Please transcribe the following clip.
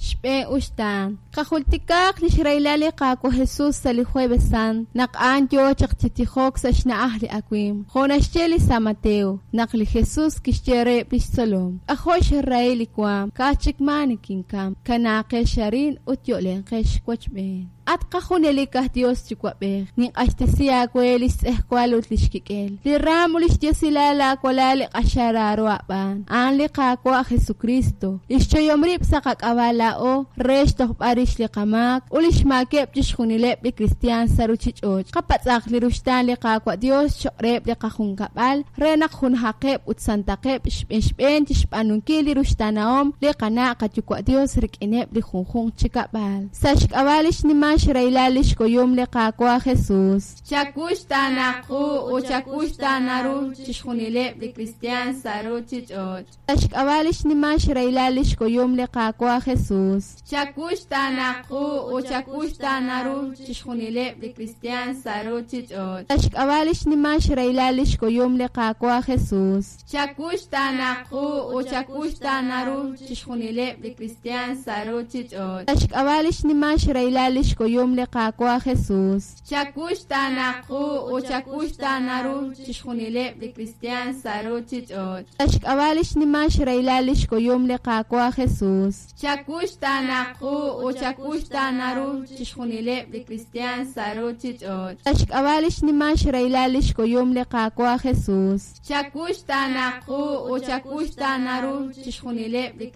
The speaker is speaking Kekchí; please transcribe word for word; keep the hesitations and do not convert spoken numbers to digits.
Xb'een uxtaan. Qajultikaaq lix rahilal li Qaawa' Jesus sa' li Jueves Sant, naq a'an yoo chaq chi tijok sa' xna'aj li awimq. Jo' naxye li San Mateo, naq li Jesus kixye reheb' lix tzolom: K'ajo' xrahil li waam, ka'aj chik maa nikinkam. Kanaaqex arin ut yo'lenqex wochb'een. At qajunelik aj Dios Yuwa'b'ej, ninq'axtesi aawe lix tz'ejwal ut lix kik'el, li raam ut lix diosilal laawalal li q'axal raaro aab'aan, a'an li Qaawa' Jesukristo, li xchoyom rib' sa' qak'ab'a' laa'o re xtojb'al rix li qamaak ut lix maakeb' chixjunileb' li kristiaan sa' ruchich'och'. Qapatz'aq li ruxtaan li Qaawa' Dios choq' reheb' li qajunkab'al re naq junajaqeb' ut santaqeb' xb'een xb'een chixb'aanunkil li ruxtaanahom li qana' qayuwa' Dios rik'ineb' li junjunq chi kab'al. Sa' xk'ab'a' li xnimal xrahilal lix kuyum li Qaawa' Jesus. Chakuxtaana qu ut chakuxtaana ru chixjunileb' li kristiaan sa' ruchich'och'. Sa' xk'ab'a' li xnimal xrahilal lix kuyum li Qaawa' Jesus. Chakuxtaana qu ut chakuxtaana ru chixjunileb' li kristiaan sa' ruchich'och'. Sa' xk'ab'a' li xnimal xrahilal lix kuyum li Qaawa' Jesus. Chakuxtaana qu ut chakuxtaana ru chixjunileb' li kristiaan sa' ruchich'och'. Sa' xk'ab'a' li xnimal xrahilal lix kuyum li Qaawa' Jesus. Chakuxtaana qu ut chakuxtaana ru chixjunileb' li kristiaan sa' ruchich'och'. Sa' xk'ab'a' li xnimal xrahilal lix kuyum li Qaawa' Jesus. Chakuxtaana qu ut chakuxtaana ru chixjunileb' li kristiaan sa' ruchich'och'. Sa' xk'ab'a' li xnimal xrahilal lix kuyum li Qaawa' Jesus. Chakuxtaana qu ut chakuxtaana ru chixjunileb' li